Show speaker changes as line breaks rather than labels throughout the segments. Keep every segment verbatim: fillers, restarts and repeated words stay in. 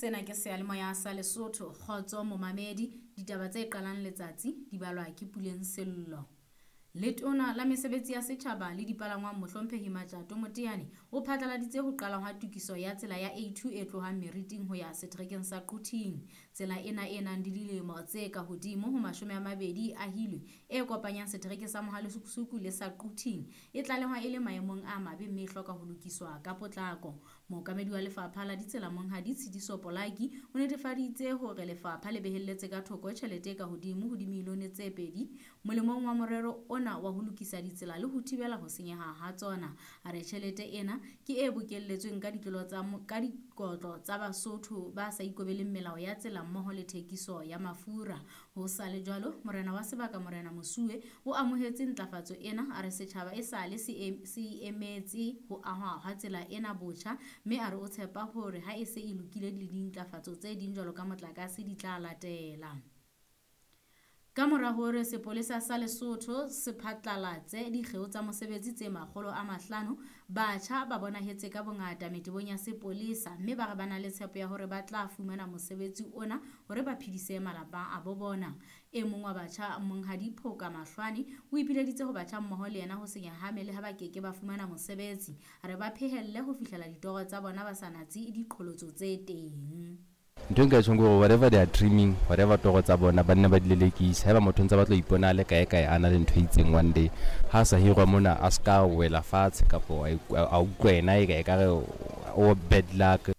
Sena ke seyalemoya sa Lesotho. Kgotso momamedi, ditaba tse qalang letsatsi di balwa ke Puleng Sello. Letona la mesebetsi ya setjhaba le dipalangwang Mohlomphehi Matjato Moteane o phatlaladitse ho qala hwa tokiso ya tsela ya A two e tlohang Meriting ho ya seterekeng sa Quthing. Tsela ena e nang le dilemo tse ka hodimo ho mashome a mabedi e ahilwe e kopanyang setereke sa Mohalesukusuku le sa Quthing e tlalehwa e le maemong a mabe mme e hloka ho lokiswa ka potlako. Mookamedi wa lefapha la ditsela Monghadi Tshidiso Polaki o netefaditse hore lefapha le behelletse ka thoko tjhelete e ka hodimo ho dimilione tse pedi molemong wa morero ona wa ho lokisa ditsela le ho thibela ho senyeha ha tsona. A re tjhelete ena ke e bokelletsweng ka ditlolo tsa mo-, ka dikotlo tsa Basotho ba sa ikobeleng melao ya tsela mmoho le thekiso ya mafura. Ho sa le jwalo, morena wa sebaka Morena Mosuwe o amohetse ntlafatso ena, a re setjhaba e sale se em-, se emetse ho ahwa ha tsela ena botjha, mme a re o tshepa hore ha e se e lokile le dintlafatso tse ding jwalo ka motlakase di tla latela. Ka mora hore sepolesa sa Lesotho se phatlalatse dikgeo tsa mosebetsi tse makgolo a mahlano, batjha ba bonahetse ka bongata metebong ya sepolesa mme ba re ba na le tshepo ya hore ba tla fumana mosebetsi ona hore ba phedise malapa a bo bona. E mong wa batjha, Monghadi Phoka Mahlwane, o ipileditse ho batjha mmoho le yena ho se nyahame le ha ba keke ba fumana mosebetsi. A re ba phehelle ho fihlela ditoro tsa bona ba sa natse diqholotso tse teng.
Ntho e nka e tjhong ke hore whatever they are dreaming, whatever toro tsa bona, ba nne ba di lelekise. Haeba motho o ntse a batla ho ipona a le kae kae a na le ntho e itseng one day, ha a sa hirwa mona a ska wela fatshe kapo a iku-, a utlwa yena e ka ekare o bad luck.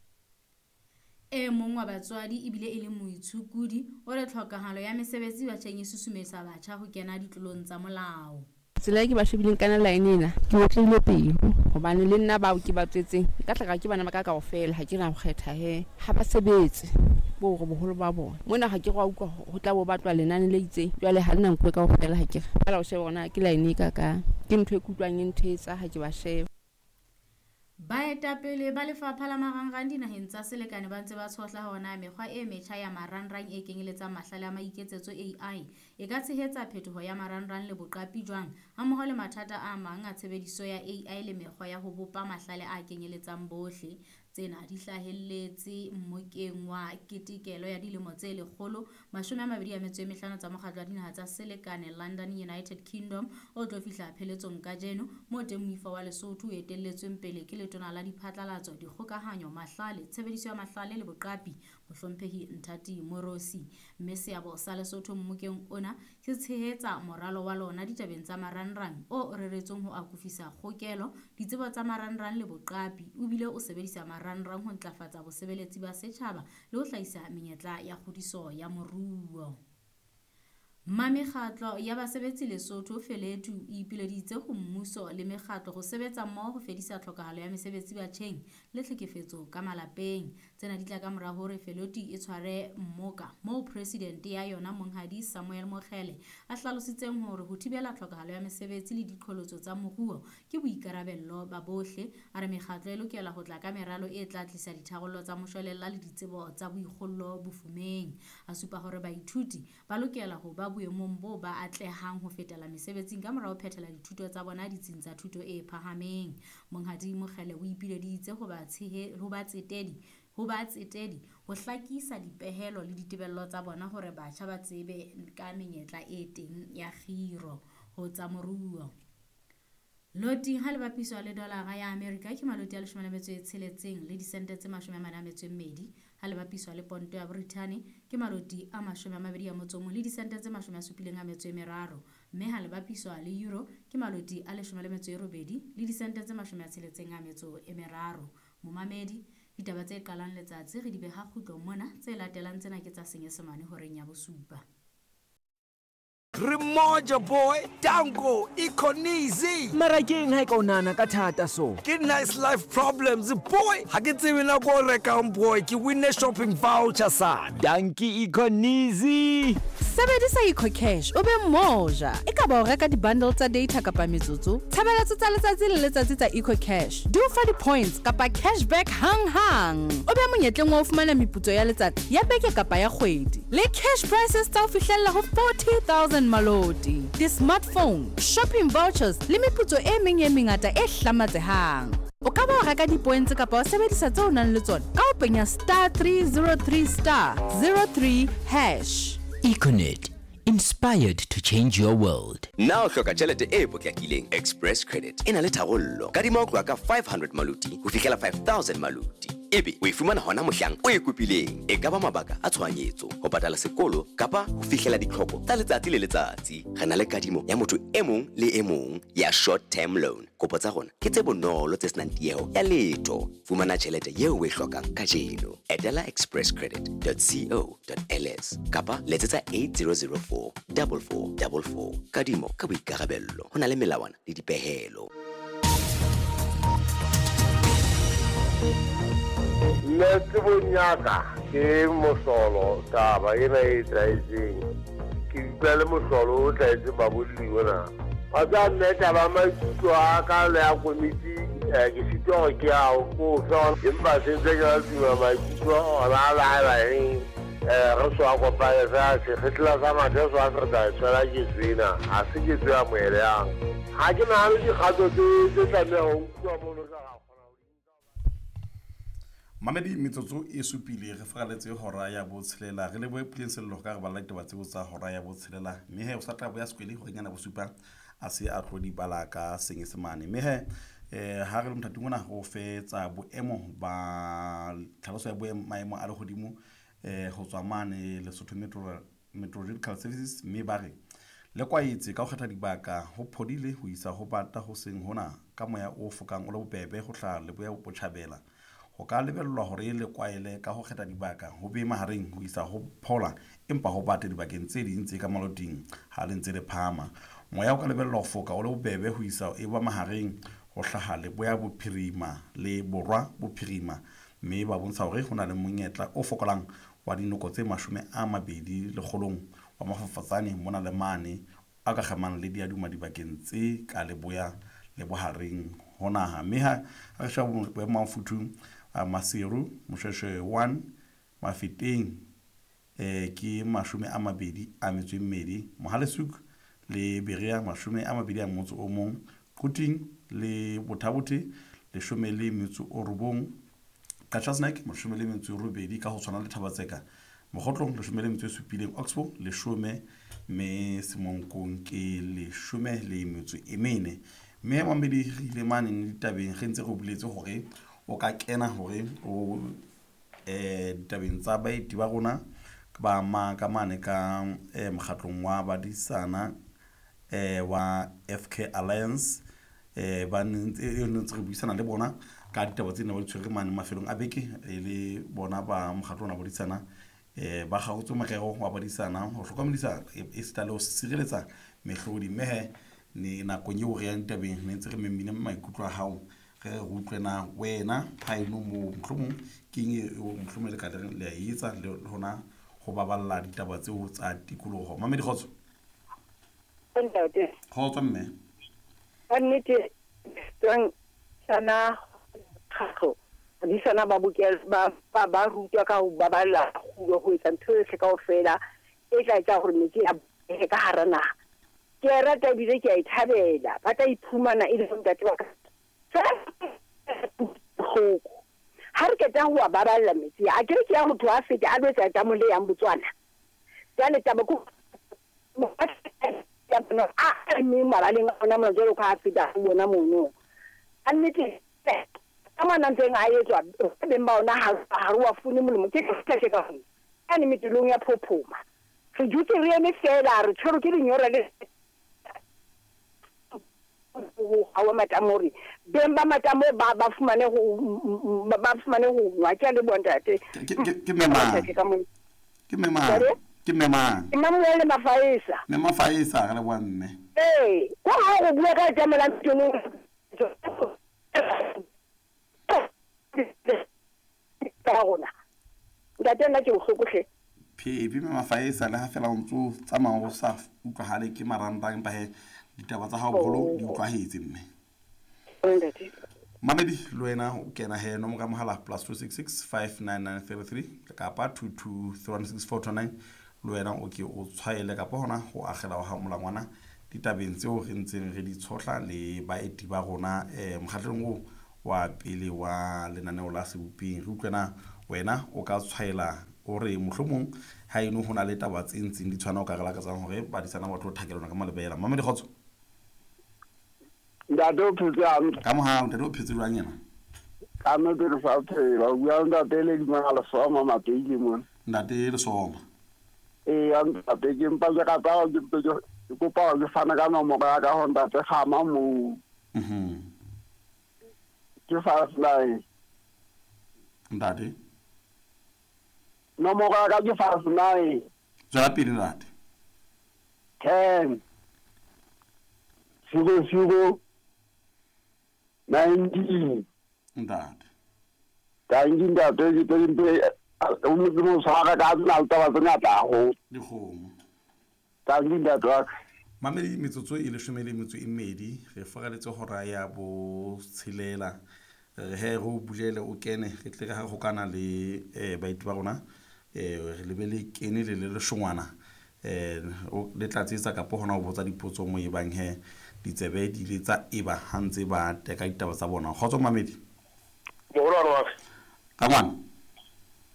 E mong wa batswadi ebile e le moitshokodi o re tlhokahalo ya mesebetsi batjheng e susumetsa batjha ho kena ditlolong tsa molao.
Tsela e ke ba shebileng ka yona line ena, ke otlehile pelo hobane le nna bao ke ba tswetseng nka tla ka ke bana ba ka kaofela, ha ke na ho kgetha he. Ha ba sebetse bo hore boholo ba bona mona ha ke re wa utlwa ho tla bo batlwa lenane le itseng, jwale ha le na nkuwe kaofela, ha ke re fela o shebe hore na ke line e kakang. Ke ntho e ke utlwang e nthetsa ha ke ba sheba.
Baetapele ba lefapha la marangrang dinaheng tsa selekane ba ntse ba tshohla hore na mekgwa e metjha ya marangrang e kenyeletsang mahlale a maiketsetso A I e ka tshehetsa phetoho ya marangrang le boqapi jwang, hammoho le mathata a mang a tshebediso ya A I le mekgwa ya ho bopa mahlale a kenyeletsang bohle. Tsena di hlahelletse mmokeng wa ketekelo ya dilemo tse lekgolo mashome a mabedi a metso e mehlano tsa mokgatlo wa dinaha tsa selekane London United Kingdom o tlo fihla pheletsong kajeno, moo teng moifo wa Lesotho o etelletsweng pele ke letona la diphatlalatso, dikgokahanyo, mahlale, tshebediso ya mahlale le boqapi Mohlomphehi Nthati Moorosi. Mme seabo sa Lesotho mmokeng ona se tshehetsa moralo wa lona ditabeng tsa marangrang o reretsweng ho akofisa kgokelo, ditsebo tsa marangrang le boqapi, o bile o sebedisa marangrang ho ntlafatsa bosebeletsi ba setjhaba le ho hlahisa menyetla ya kgodiso ya moruo. Mamekgatlo ya basebetsi Lesotho Feletu e ipileditse ho mmuso le mekgatlo ho sebetsa mmoho ho fedisa tlhokahalo ya mesebetsi batjheng le tlhekefetso ka malapeng. Tsena di tla ka mora hore Feletu e tshware mmoka moo presidente ya yona Monghadi Samuel Mokgele a hlalositseng hore ho thibela tlhokahalo ya mesebetsi le diqholotso tsa moruo ke boikarabello ba bohle. A re mekgatlo e lokela ho tla ka meralo e tla tlisa ditharollo tsa moshwelella le ditsebo tsa boikgollo bofumeng. A supa hore baithuti ba lokela ho ba boemong bo ba atlehang ho fetela mesebetsing ka mora ho phethela dithuto tsa bona ditsing tsa thuto e phahameng. Monghadi Mokgele o ipileditse ho ba tshehe-, ho batsetedi, ho batsetedi ho hlakisa dipehelo le ditebello tsa bona hore batjha ba tsebe ka menyetla e teng ya kgiro ho tsa moruo. Loti ha le bapiswa le dolara ya Amerika ke maloti a leshome le metso e tsheletseng le disente tse mashome a mane a metso e mmedi. Ha le bapiswa le ponto ya Brithani ke maloti a mashome a mabedi a motso o mong le disente tse mashome a supileng a metso e meraro. Mme ha le bapiswa le euro ke maloti a leshome le metso e robedi le disente tse mashome a tsheletseng a metso e meraro. Momamedi, ditaba tse qalang letsatsi re di beha kgutlong mona, tse latelang tsena ke tsa Senyesemane horeng ya bosupa.
Re moja boy, Danko, Econeasy.
Mara ke eng ha e ka o nahana ka thata so?
Ke nice life problems boy. Ha ke tsebe nako o rekang boy, ke winne shopping voucher sana.
Danki Econeasy.
Sebedisa EcoCash o be moja. E ka ba o reka di-bundle tsa data kapa metsotso, tshebeletso tsa letsatsi le letsatsi tsa EcoCash di o fa di-points kapa cashback hang-hang. O be monyetleng wa ho fumana meputso ya letsatsi, ya beke kapa ya kgwedi. Le cash prizes tsa ho fihlella ho forty thousand maloti, di-smartphone, shopping vouchers le meputso e meng e mengata e hlamatsehang. O ka ba o reka di-points kapa o sebedisa tseo o nang le tsona ka ho penya star three zero three star zero three hash.
Econet, inspired to change your world.
Na o hloka tjhelete e potlakileng? Express Credit e na le tharollo. Kadima ho tloha ka five hundred maluti ho fihlela five thousand maluti. Ebe o e fumana hona mohlang o e kopileng. E ka ba mabaka a tshohanyetso, ho patala sekolo kapa ho fihlela ditlhoko tsa letsatsi le letsatsi. Re na le kadimo ya motho e mong le e mong ya short term loan. Kopo tsa rona ke tse bonolo tse senang tieho ya letho. Fumana tjhelete eo o e hlokang kajeno. Etela express credit dot co dot L S kapa letsetsa eight zero zero four double four double four. Kadimo ka boikarabello. Ho na le melawana le dipehelo.
Nna tsebong ya ka ke mohlolo taba ena e tlwaetseng. Ke utlwa le mohlolo o tlwaetseng babolli ona. Wa tseba mme taba maikutlo a ka le ya komiti ke sitwa hore ke a o fe, empa se ntse ke la tuma maikutlo ona a laela eng. Re so a kopane fela sekgetla sa mathe so a se re tla tshwela ketso ena, ha se ketso ya moeleyang. Ha ke nahane dikgato tse tlamehang ho nkuwa mono ka.
Mamedi metsotso e supile re faraletse hora ya botshelela re lebohe Puleng Sello ka re bala ditaba tseo tsa hora ya botshelela mme he o sa tla boya sekwele hore nyana bosupa a se a tlo di bala ka senyesemane mme he eh ha re le mothating ona ho fetsa boemo ba tlhaloso ya boemo maemo a lehodimo eh ho tswa mane Lesotho Metro Meteorological Services mme ba re le kwaetse ka ho kgetha dibaka ho phodile ho isa ho bata ho seng hona ka moya o fokang o le bobebe ho hlaha leboya botjhabela. Ho ka lebellwa hore le kwaele ka ho kgetha dibaka ho be mahareng ho isa ho phola empa ho bate dibakeng tse ding tse ka maloting ha le ntse le phahama. Moya o ka lebellwa ho foka o le bobebe ho isa e ba mahareng ho hlaha leboya bophirima le borwa bophirima mme ba bontsha hore ho na le monyetla o fokolang wa dinoko tse mashome a mabedi lekgolong wa mafafatsane mona le mane a ka kgamang le diaduma dibakeng tse ka leboya le bohareng ho naha. Mme ha re sheba boemo ba mofuthu Maseru Moshweshwe one Mafeteng eh ke mashome a mabedi a metso e mmedi, Mohale'shoek le Berea mashome a mabedi a motso o mong, Quthing le Botha-Bothe leshome le metso o robong, Qacha's Nek mashome le metso e robedi ka ho tshwana le Thaba-Tseka, Mokhotlong leshome le metso e supileng, Oxbow leshome mme Semonkong ke leshome le metso e mene. Mme mamedi re ile mane ditabeng re ntse re boletse hore o ka kena hore o eh ditabeng tsa baeti ba rona ba ma ka mane ka eh mokgatlong wa badisana eh wa F K Alliance eh ba ntse re buisana le bona ka ditaba tsena ba di tshwere mane mafelong a beke e le bona ba mokgatlo wa badisana eh ba kgaotse morero wa badisana ho hlokomedisa e sita le ho sireletsa mehlodi. Mme he ne nakong eo re yang ditabeng ne ntse re memile maikutlo a hao re utlwe na wena ha eno mo mohlomong ke eng eo mohlomong le ka le a etsa le hona ho baballa ditaba tseo tsa tikoloho. Mamedi kgotso.
Ntate.
Kgotso mme.
Ka nnete tswang sana kgatlo di sana ba bokela ba ba ba rutwa ka ho baballa kgulo ho etsa ntho yohle kaofela e tla etsa hore metsi a behe ka hara naha. Ke a rata ebile ke a e thabela. Ba tla iphumana e le ntate wa ka bohloko. Ha re qeta ho a baballa metsi a kere ke ya motho a fete a lo etsa tamo le yang Botswana. Jwale taba ko a mme mabaleng a ona mona jwalo ka a feta ho bona mono. A nnete ka mona ntseng a etswa beng ba ona ha ha re wa fune molemo ke ke ka hona. Ane metulong ya phophoma. Re dutse re eme fela re tshwerwe ke lenyora le ha wa matamo hore beng ba matamo ba ba fumane ho ba fumane ho nwa. Ke a leboha ntate.
Ke mme mang? Ke mme mang? Ke mme mang?
Ke Mamuele Mafaesa.
Mme Mafaesa re leboha mme.
Ee, ko ha go bua ka tlamela ntong ka rona. Ntate nna ke bohloko hle.
Phepi mme Mafaesa le ha fela o ntso tsamaya o sa utlwahale ke maranta empa he ditaba tsa hao boholo di utlwahetse mme.
Ntate.
Mamedi le wena o kena he nomoro ya mohala plus two six six five nine nine three three kapa two two three one six four two nine le wena o ke o tshwaele kapa hona ho akgela ha molangwana ditabeng tseo re ntseng re di tshohla le baeti ba rona eh mokgatlong o wa pele wa lenaneo la Seboping. Re utlwe na wena o ka tshwaela o re mohlomong ha eno ho na le taba tse ntseng di tshwana o ka re lakatsang hore badisana ba tlo thakelana ka malebela. Mamedi kgotso.
Ntate o phetse hantle.
Ka mohau ntate o phetse jwang yena?
Ka nnete re sa phela. O bua ntate le Dimang Lesoma Mapeile mona.
Ntate Lesoma.
Ee, ntate ke mpa ke rata hore ke mpe ke kopa hore ke fane ka nomoro ya ka ho ntate Kgama moo.
Mhm.
Ke five nine.
Ntate.
Nomoro ya ka ke five nine.
Tswela pele ntate.
Ten. Zero zero nineteen.
Ntate.
Thank you ntate ke tlo mpe o mo tshwara ka tsena le taba tse ngata haholo.
Dikgomo.
Thank you ntate wa ka.
Mamedi metsotso e leshome le metso e mmedi re foraletse hora ya botshelela. Re he re o bulele o kene re tle re ha hokana le eh baeti ba rona eh re lebele kene le le leshongwana eh le tla tsetsa kapo hona ho botsa dipotso mo e bang he ditsebe di le tsa eba ha ntse ba teka ditaba tsa bona. Kgotso mamedi.
Moholo wa ka.
Ka ngwana.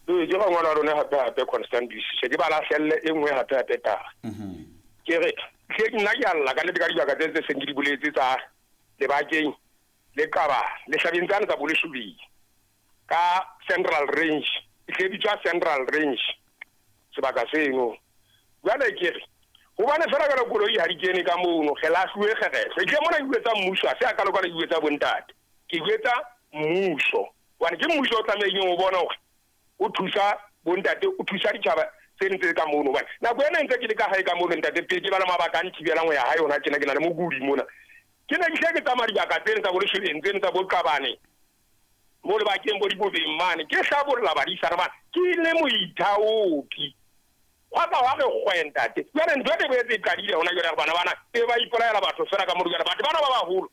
Ee ke ngwana wa rona hape hape Constantine se ke ba lahlelle e nngwe hape hape taba.
Mhm.
Ke re ke nna ke alla ka nnete ka dibaka tse tse seng ke di boletse tsa lebakeng le Qaba le hlabeng tsane tsa Boleshobedi ka Central Range e tle bitswa Central Range sebaka seno. Jwale ke re hobane fela ka koloi ha di kene ka mono re lahluwe kgerehle ke mona ke bua mmuso ha se a ka loka le bua tsa bontate ke bua tsa mmuso hobane ke mmuso o tlamehileng ho bona hore o thusa bontate o thusa ditjhaba tse ntse ka mono hobane nako ena ntse ke le ka hae ka mono ntate pele ke ba le mabaka a nthibelang ho ya hae hona tjena ke na le mokudi mona ke ne ke hle ke tsamaya dibaka tsena tsa Boleshobeng tsena tsa Boqabane mo lebakeng bo dibobeng mane ke hlabolla badisana bana ke le moithaopi hwa ka hwa re kgwe ntate. Jwale ntho e boetse e qadile hona jwale bana bana e ba ipolaela batho fela ka mono jwale batho bana ba baholo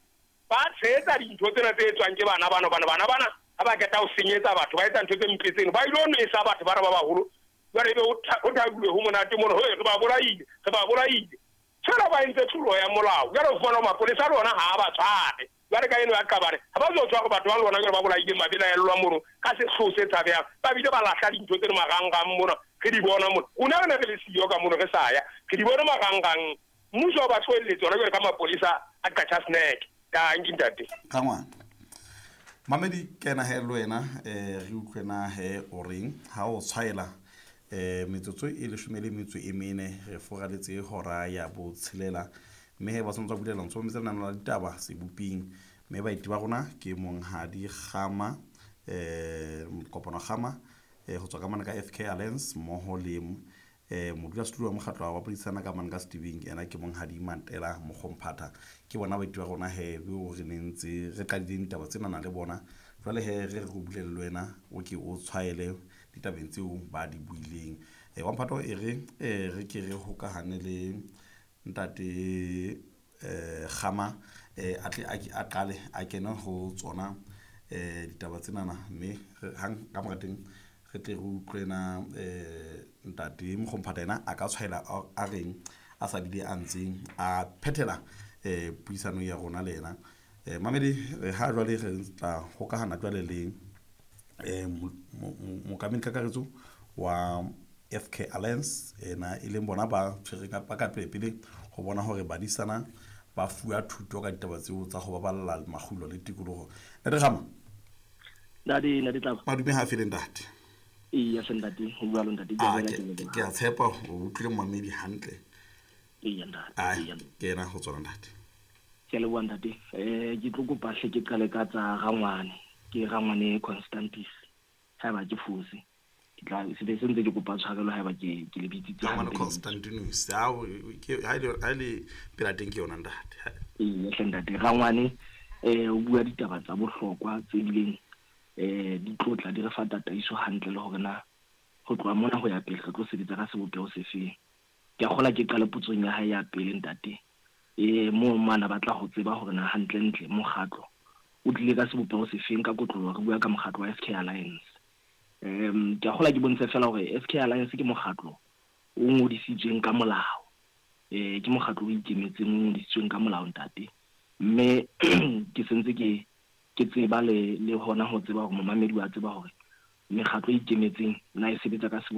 ba tshehetsa dintho tsena tse etswang ke bana bana bana bana bana ha ba qeta ho senyetsa batho ba etsa ntho tse mpe tseno ba ilo nwesa batho bana ba baholo jwale ebe ho thabilwe ho monate mono ho re ba bolaile re ba bolaile fela ba entse tlolo ya molao jwale o fumana mapolesa a lona ha ba tshware jwale ka eno ya Qabane ha ba zo tshwara batho ba lona jwale ba bolaile mabelaellwa mono ka sehloho se tshabehang ba bile ba lahla dintho tseno marangrang mona re di bona mona rona re ne re le siyo ka mono re sa ya re di bona marangrang mmuso o ba tlohelletse hona jwale ka mapolesa a Qacha Snack. Thank you ntate.
Ka ngwana. Mamedi kena he le wena eh re utlwe na he o reng ha o tshwaela eh metsotso e leshome le metso e mene re foraletse hora ya botshelela mme he ba tshwanetse go bulela ntso metsa lenaneo la ditaba Seboping mme baeti ba rona ke monghadi Kgama eh Kopano Kgama eh ho tswa ka mane ka F K Alliance mmoho le eh modulasetulo wa mokgatlo wa bapodisana ka mane ka Steving ena ke monghadi Mantela Mokgomphatha ke bona baeti ba rona he bo re nentse re qadileng ditaba tsena na le bona jwale he re re go bulele le wena o ke o tshwaele ditabeng tseo ba di buileng. Eh wa mphato e re eh re ke re hokahane le ntate eh Kgama eh a tle a qale a kene ho tsona eh ditaba tsenana mme hang ka mora teng re tle re utlwe na eh ntate Mokgomphatha ena a ka tshwaela a reng a sa bile a ntseng a phethela eh puisano ya rona le yena. Eh mamedi ha jwale re tla hokahana jwale le eh mokamedi kakaretso wa F K Alliance ena e leng bona ba tshwereng ba ka pele ho bona hore badisana ba fuwa thuto ka ditaba tseo tsa ho baballa makgulo le tikoloho. Ntate Kgama.
Ntate ntate Tlaba.
Madume ha fele ntate.
Ee ya ntate ho bua lo ntate ke
a ke ke a tshepa o utlwile mamedi hantle.
Ee ntate.
Ke ena ho tsona ntate.
Ke a leboha ntate. Eh ke tlo kopa hle ke qale ka tsa Rangwane. Ke Rangwane Constantis. Haeba ke fose. Ke tla se be se ntse ke kopa tshwarelo haeba ke ke le bitsitse
Rangwane Constantinus. Ha ke ha ile ha ile pela teng ke yona ntate.
Ee hle ntate Rangwane eh o bua ditaba tsa bohlokwa tse bileng eh di tlotla di re fa tataiso hantle le hore na ho tloha mona ho ya pele re tlo sebetsa ka sebopeho sefeng. Ke a kgola ke qale potsong ya hae ya pele ntate. Eh mo mana batla ho tseba hore na hantle ntle mokgatlo o tlile ka sebopeho sefeng ka kotloloho re bua ka mokgatlo wa F K Alliance. Em ke a kgola ke bontshe fela hore F K Alliance ke mokgatlo o ngodisitsweng ka molao. Eh ke mokgatlo o ikemetseng o ngodisitsweng ka molao ntate. Mme ke sentse ke Ke tseba le le hona ho tseba hore momamedi wa tseba hore mekgatlo e ikemetseng na e sebetsa ka